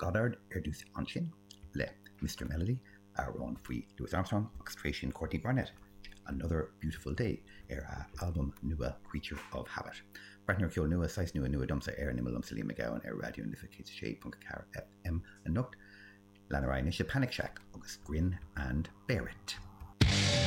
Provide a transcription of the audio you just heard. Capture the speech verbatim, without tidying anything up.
Goddard ar dtús ansin le Mister Melody, amhrán faoi Louis Armstrong, agus tar éis sin Courtney Barnett, Another Beautiful Day ar a albam nua Creature of Habit. Breathnú ar cheol nua, saghas nua nua domsa ar an Imeall liomsa Liam Mac Gabhann ar Raidió na Life céad a sé ponc a ceathair F M anocht. Lean ar aghaidh anois le Panic Shack agus Grin and Bear It.